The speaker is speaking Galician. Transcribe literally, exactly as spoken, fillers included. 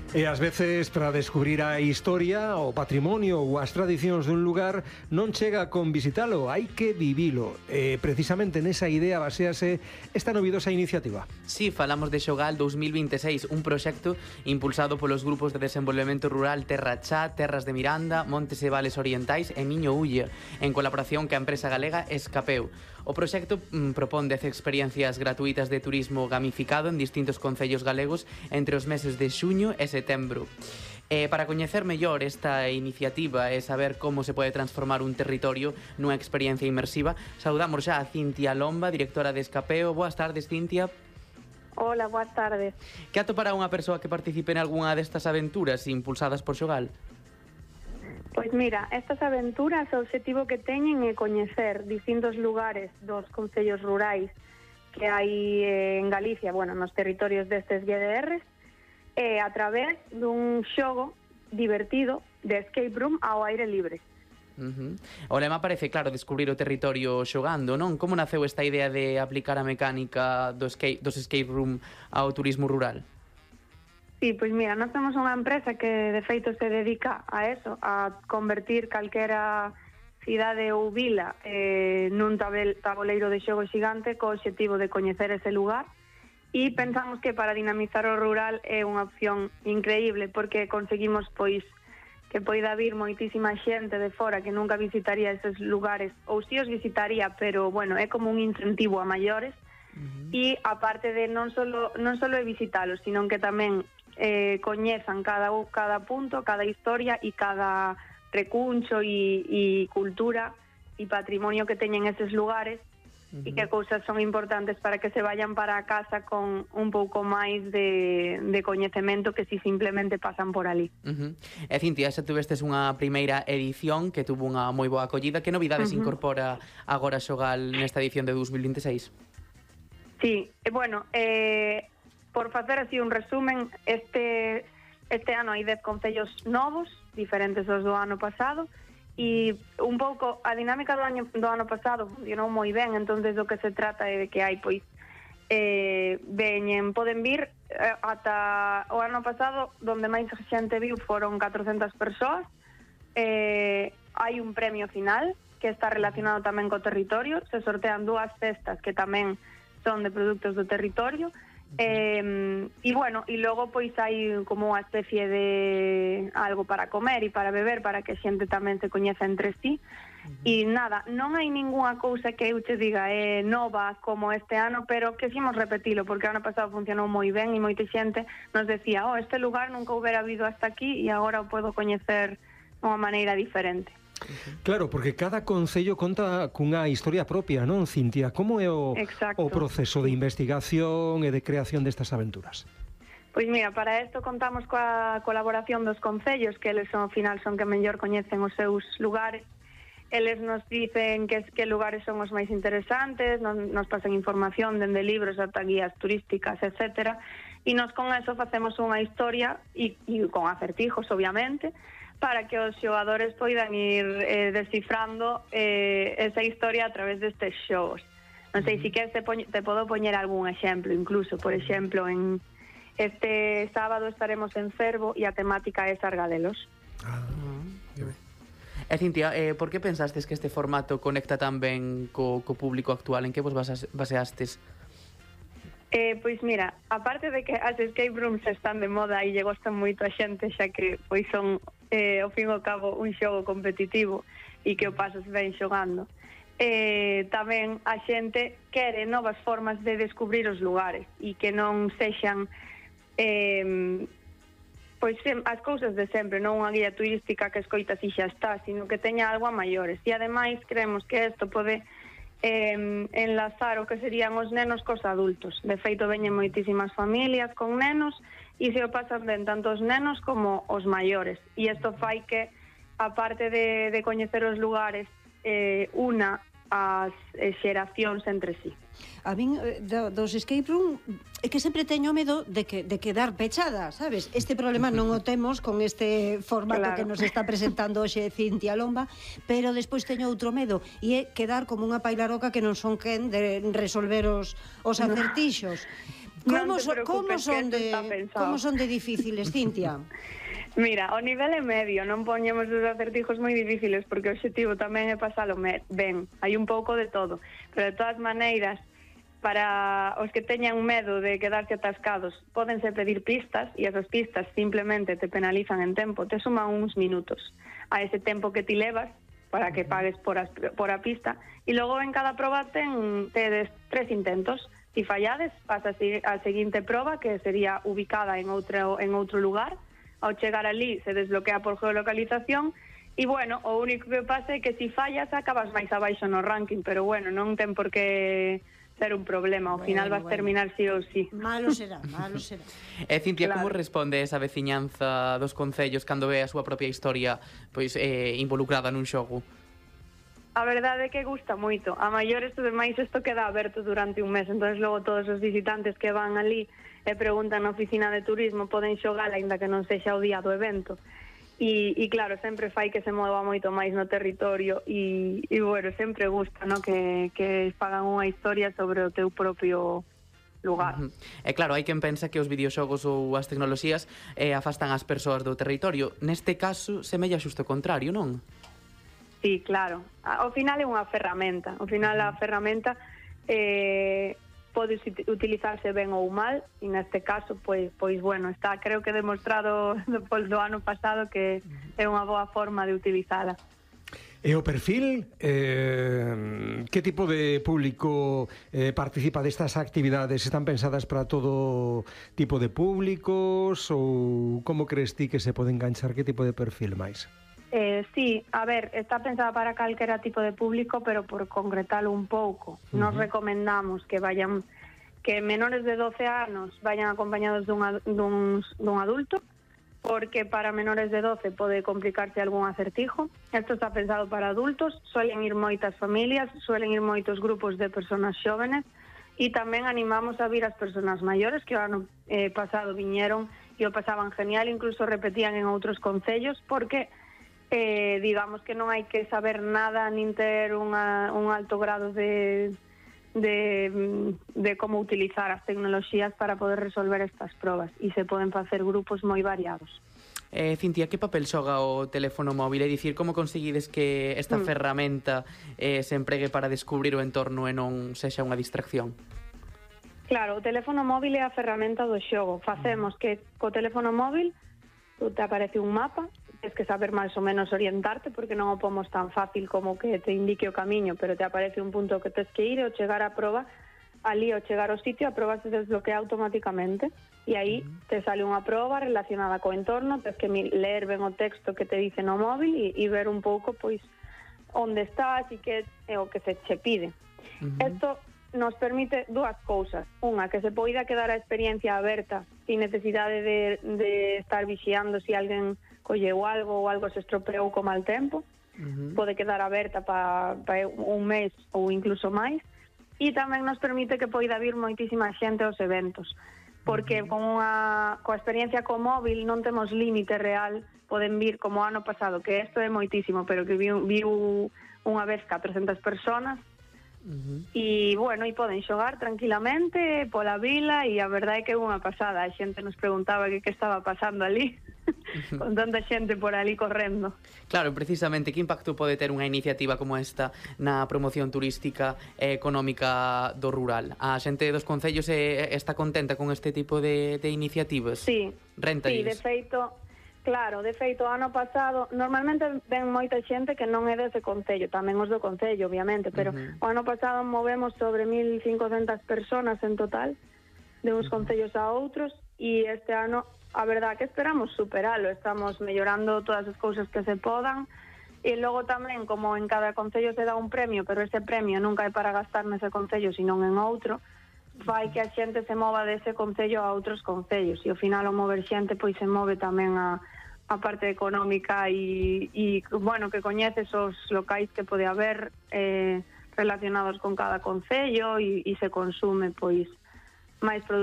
E ás veces, para descubrir a historia, o patrimonio ou as tradicións dun lugar, non chega con visitalo, hai que vivilo. E precisamente nesa idea basease esta novidosa iniciativa. Sí, falamos de Xogal dos mil vinte e seis, un proxecto impulsado polos grupos de desenvolvemento rural Terra Chá, Terras de Miranda, Montes e Vales Orientais e Miño Ulla, en colaboración ca empresa galega Escapeu. O proxecto mm, propón dez experiencias gratuitas de turismo gamificado en distintos concellos galegos entre os meses de xuño e setembro. Eh, para coñecer mellor esta iniciativa e saber como se pode transformar un territorio nunha experiencia inmersiva, saudamos xa a Cintia Lomba, directora de Escapeo. Boas tardes, Cintia. Hola, boas tardes. Que atopará unha persoa que participe en algunha destas aventuras impulsadas por Xogal? Pois mira, estas aventuras o obxectivo que teñen é coñecer distintos lugares dos concellos rurais que hai en Galicia, bueno, nos territorios destes G D Rs, e a través dun xogo divertido de escape room ao aire libre. Uh-huh. O lema parece, claro, descubrir o territorio xogando, non? Como naceu esta idea de aplicar a mecánica do escape, dos escape room ao turismo rural? Sí, pois mira, nós temos unha empresa que de feito se dedica a eso, a convertir calquera cidade ou vila eh, nun tabel, tabuleiro de xogo xigante co obxectivo de coñecer ese lugar. E pensamos que para dinamizar o rural é unha opción increíble porque conseguimos pois que poida vir moitísima xente de fora que nunca visitaría eses lugares ou si os visitaría, pero bueno, é como un incentivo a maiores. Uh-huh. E aparte de non solo non solo é visitalos, sino que tamén eh, coñezan cada, cada punto, cada historia e cada recuncho e, e cultura e patrimonio que teñen eses lugares. Uh-huh. E que cousas son importantes para que se vayan para a casa con un pouco máis de, de coñecemento que si simplemente pasan por ali. Uh-huh. E Cintia, xa tuvestes unha primeira edición que tuvo unha moi boa acollida. Que novidades uh-huh. incorpora agora Xogal nesta edición de dos mil vinte e seis? Sí, e bueno, eh, por facer así un resumen, este, este ano hai dez concellos novos, diferentes aos do ano pasado, e un pouco a dinámica do ano, do ano pasado funcionou moi ben, entonces o que se trata é de que hai pois eh, veñen, poden vir eh, ata o ano pasado donde máis xente viu foron catrocentas persoas. Eh, hai un premio final que está relacionado tamén co territorio, se sortean dúas cestas que tamén son de produtos do territorio. Eh, e bueno, e logo pois hai como unha especie de algo para comer e para beber para que a xente tamén se coñeza entre sí. Uh-huh. E nada, non hai ningunha cousa que eu te diga é eh, nova como este ano, pero que ximos repetilo porque o ano pasado funcionou moi ben e moita xente nos decía, oh, este lugar nunca houbera habido hasta aquí e agora o podo coñecer de unha maneira diferente. Claro, porque cada concello conta cunha historia propia, non, Cintia? Como é o, o proceso de investigación e de creación destas aventuras? Pois mira, para isto contamos coa colaboración dos concellos, que eles ao final son que mellor coñecen os seus lugares. Eles nos dicen que, que lugares son os máis interesantes, nos, nos pasan información dende libros ata guías turísticas, etcétera. E nos con eso facemos unha historia e, e con acertijos, obviamente, para que os xogadores poidan ir eh, descifrando eh, esa historia a través destes xogos. Non sei, se si queres te, te podo poñer algún exemplo, incluso, por exemplo, en este sábado estaremos en Cervo e a temática é Sargadelos. Ah, que ben. E Cintia, eh, por que pensastes que este formato conecta tan ben co, co público actual? En que vos baseastes? Eh, pois mira, aparte de que as escape rooms están de moda e lle gostan moito a xente, xa que pois son eh, ao fin e ao cabo un xogo competitivo e que o pasas ben xogando, eh, tamén a xente quere novas formas de descubrir os lugares e que non sexan eh, pois as cousas de sempre, non unha guía turística que escoitas e xa está, sino que teña algo a maiores. E ademais creemos que isto pode eh, enlazar o que serían os nenos cos adultos. De feito, veñen moitísimas familias con nenos e se o pasan ben tanto os nenos como os maiores. E isto fai que, aparte de, de coñecer os lugares, eh, una as eh, xeracións entre sí. A min, do, dos escape room, é que sempre teño medo de, que, de quedar pechada, sabes? Este problema non o temos con este formato claro. que nos está presentando hoxe Cintia Lomba, pero despois teño outro medo, e é quedar como unha pailaroca que non son quen de resolver os, os acertixos. Como, Non te so, como, preocupes, son que de, está pensado. como son de difíciles, Cintia? Mira, o nivel é medio, non poñemos os acertijos moi difíciles porque o objetivo tamén é pasalo ben, hai un pouco de todo, pero de todas maneiras, para os que teñan medo de quedarse atascados, pódense pedir pistas e esas pistas simplemente te penalizan en tempo, te suman uns minutos a ese tempo que ti levas para que pagues por, as, por a pista e logo en cada proba ten tedes tres intentos. Si fallades, pasa a seguinte proba que sería ubicada en outro, en outro lugar. Ao chegar ali se desbloquea por geolocalización e, bueno, o único que pasa é que si fallas acabas máis abaixo no ranking, pero, bueno, non ten por que ser un problema, ao bueno, final vas bueno. terminar sí ou sí. Malo será, malo será. E, Cintia, claro. Como responde esa veciñanza dos concellos cando ve a súa propia historia pois eh, involucrada nun xogo? A verdade é que gusta moito. A maiores, ademais, isto queda aberto durante un mes, entón logo todos os visitantes que van ali e preguntan na oficina de turismo poden xogar, aínda que non sexa o día do evento. E, e claro, sempre fai que se mova moito máis no territorio e, e bueno, sempre gusta, no? que, que fagan unha historia sobre o teu propio lugar. Uh-huh. E claro, hai quen pensa que os videoxogos ou as tecnoloxías eh, afastan as persoas do territorio. Neste caso, semella xusto o contrario, non? Sí, claro. Ao final é unha ferramenta. Ao final a ferramenta eh, pode utilizarse ben ou mal e neste caso, pois, pois bueno, está creo que demostrado depois do ano pasado que é unha boa forma de utilizala. E o perfil, eh, que tipo de público eh, participa destas actividades? Están pensadas para todo tipo de públicos ou como crees ti que se pode enganchar? Que tipo de perfil máis? Eh, sí, a ver, está pensada para calquera tipo de público, pero por concretalo un pouco. Uh-huh. Nos recomendamos que vayan, que menores de doce anos vayan acompañados dun, dun, dun adulto, porque para menores de doce pode complicarse algún acertijo. Isto está pensado para adultos, suelen ir moitas familias, suelen ir moitos grupos de personas xóvenes, e tamén animamos a vir as persoas maiores que o ano eh, pasado viñeron e o pasaban genial, incluso repetían en outros concellos, porque Eh, digamos que non hai que saber nada nin ter unha, un alto grado de, de, de como utilizar as tecnoloxías para poder resolver estas probas e se poden facer grupos moi variados. Eh, Cintia, que papel xoga o teléfono móvil? É dicir, como conseguides que esta mm. ferramenta eh, se empregue para descubrir o entorno e non sexa unha distracción? Claro, o teléfono móvil é a ferramenta do xogo. Facemos que co teléfono móvil te aparece un mapa, tens que saber máis ou menos orientarte porque non o pomos tan fácil como que te indique o camiño, pero te aparece un punto que tens que ir e ao chegar á proba, ali ao chegar ao sitio a proba se desbloquea automáticamente e aí te sale unha proba relacionada co entorno, tens que ler ben o texto que te dice no móvil e, e ver un pouco pois onde estás e que é o que se che pide. Isto uh-huh. nos permite dúas cousas. Unha, que se poida quedar a experiencia aberta sin necesidade de, de estar vixiando se si alguén colleu algo ou algo se estropeou co mal tempo. Uh-huh. Pode quedar aberta para pa un mes ou incluso máis. E tamén nos permite que poida vir moitísima xente aos eventos. Porque uh-huh. con unha, coa experiencia co móvil non temos límite real. Poden vir como ano pasado, que isto é moitísimo, pero que viu, viu unha vez catrocentas personas. Uh-huh. E, bueno, e poden xogar tranquilamente pola vila e a verdade é que é unha pasada. A xente nos preguntaba que que estaba pasando ali uh-huh. con tanta xente por ali correndo. Claro, precisamente, que impacto pode ter unha iniciativa como esta na promoción turística e económica do rural? A xente dos concellos é, está contenta con este tipo de, de iniciativas? Sí, Renta sí, de feito... Claro, de feito, ano pasado, normalmente ven moita xente que non é dese concello, tamén os do concello, obviamente, pero uh-huh. o ano pasado movemos sobre mil cincocentas personas en total, de uns uh-huh. concellos a outros, e este ano, a verdad que esperamos superalo, estamos mellorando todas as cousas que se podan, e logo tamén, como en cada concello se dá un premio, pero ese premio nunca é para gastar nese concello, sino en outro, fai que a xente se mova dese concello a outros concellos e ao final o mover xente pois se move tamén a, a parte económica e, e bueno, que coñeces os locais que pode haber eh, relacionados con cada concello e, e se consume pois máis produtos